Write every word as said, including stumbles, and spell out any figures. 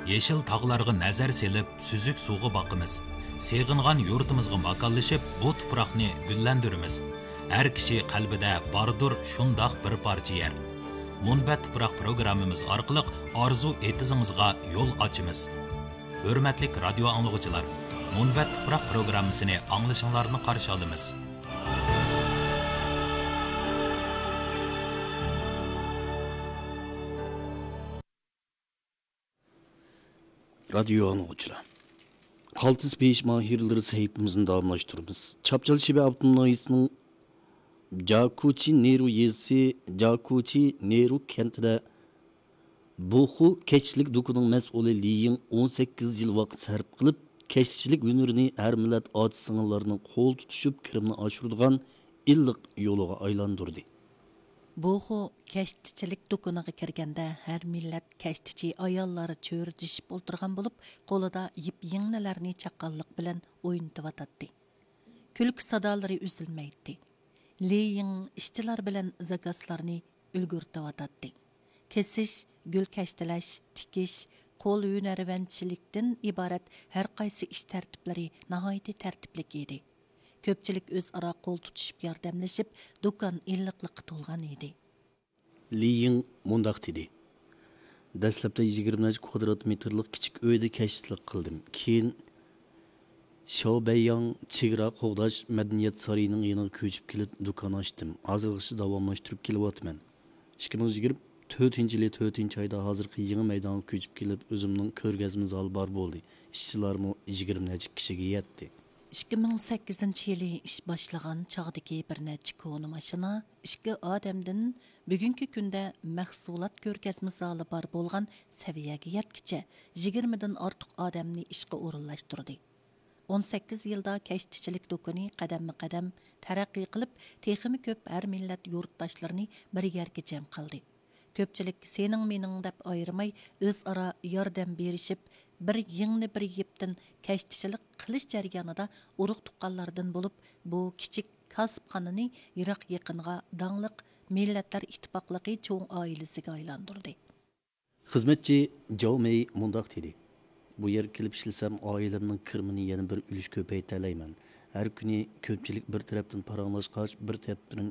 يېشىل تاغلارغا نەزەر سېلىپ، سۈزۈك سۇغا باقىمىز. سېغىنغان يۇرتىمىزغا ماكانلىشىپ، بۇ تۇپراقنى گۈللەندۈرىمىز. ھەر كىشى قەلبىدە باردۇر شۇنداق بىر پارچە يەر. مۇنبەت تۇپراق پروگراممىمىز ئارقىلىق ئارزۇ ئېتىزىڭىزغا يول ئاچىمىز. ھۆرمەتلىك رادىيو ئاڭلىغۇچىلار، مۇنبەت تۇپراق پروگراممىسىنى ئاڭلىشىڭلارنى قارشى ئالىمىز. رادىيو ئاڭلىغۇچىلار، قالتىس پېيىش ماھىرلىرى سەھىپىمىزنى داۋاملاشتۇرىمىز. چاپچال شىبە ئاپتونوم ناھىيىسىنىڭ جاكۇچى نېرۇ يېزىسى جاكۇچى نېرۇ كەنتىدە بۇخۇ كەشتىچىلىك دۇكىنىنىڭ مەسئۇلى لى يىڭ ئون سەككىز يىل ۋاقىت سەرپ قىلىپ، كەشتىچىلىك ھۈنىرىنى ھەر مىللەت ئاچا-سىڭىللارنىڭ قول تۇتۇشۇپ كىرىمىنى ئاشۇرىدىغان ئىللىق يولىغا ئايلاندۇردى. بۇخۇ كەشتىچىلىك دۇكىنىغا كىرگەندە، ھەر مىللەت كەشتىچى ئاياللار چۆرىدىشىپ ئولتۇرغان بولۇپ، قولىدا يىپ يىڭنىلەرنى چاققانلىق بىلەن ئوينىتىۋاتاتتى. كۈلكە سادالىرى ئۈزۈلمەيتتى. لى يىڭ ئىشچىلار بىلەن زاكازلارنى ئۈلگۈرتۈۋاتاتتى. كېسىش، گۈل كەشتىلەش، تىكىش، قول ھۈنەرۋەنچىلىكتىن ئىبارەت ھەر قايسى ئىش تەرتىپلىرى ناھايىتى تەرتىپلىك ئىدى. كۆپچىلىك ئۆزئارا قول تۇتۇشۇپ ياردەملىشىپ، دۇكان ئىللىقلىققا تولغان ئىدى. لى يىڭ مۇنداق دېدى: دەسلەپتە يىگىرمە نەچچە كۋادرات مېتىرلىق كىچىك ئۆيدە كەشتىچىلىك قىلدىم. كېيىن شياۋبەيياڭ چېگرا قوغداش مەدەنىيەت سارىيىنىڭ يېنىغا كۆچۈپ كېلىپ دۇكان ئاچتىم. ھازىرغىچە داۋاملاشتۇرۇپ كېلىۋاتىمەن. ئىككى مىڭ يىگىرمە تۆتىنچى يىلى تۆتىنچى ئايدا ھازىرقى يېڭى مەيدانغا كۆچۈپ كېلىپ، ئۆزۈمنىڭ كۆرگەزمە زالى بار بولدى. ئىشچىلارمۇ يىگىرمە نەچچە كىشىگە يەتتى. ئىككى مىڭ سەككىزىنچى يىلى ئىش باشلىغان چاغدىكى بىر نەچچە كونا ماشىنا، ئىككى ئادەمدىن بۈگۈنكى كۈندە مەھسۇلات كۆرگەزمە زالى بار بولغان سەۋىيەگە يەتكىچە يىگىرمىدىن ئارتۇق ئادەمنى ئىشقا ئورۇنلاشتۇردى. ئون سەككىز يىلدا كەشتىچىلىك دۇكىنى قەدەممۇ قەدەم تەرەققىي قىلىپ، تېخىمۇ كۆپ ھەر مىللەت يۇرتداشلىرىنى بىر يەرگە جەم قىلدى. كۆپچىلىك سېنىڭ مېنىڭ دەپ ئايرىماي، ئۆزئارا ياردەم بېرىشىپ، بىر يىڭنە بىر يىپتىن كەشتىچىلىك قىلىش جەريانىدا ئۇرۇق تۇغقانلاردىن بولۇپ، بۇ كىچىك كاسىپخانىنى يىراق يېقىنغا داڭلىق مىللەتلەر ئىتتىپاقلىقى چوڭ ئائىلىسىگە ئايلاندۇردى. خىزمەتچى جاۋ مېي مۇنداق دېدى: بۇ يەرگە كېلىپ ئىشلىسەم، ئائىلەمنىڭ كىرىمىنى يەنە بىر ئۈلۈش كۆپەيتەلەيمەن. ھەر كۈنى كۆپچىلىك بىر تەرەپتىن پاراڭلاشقاچ، بىر تەرەپتىن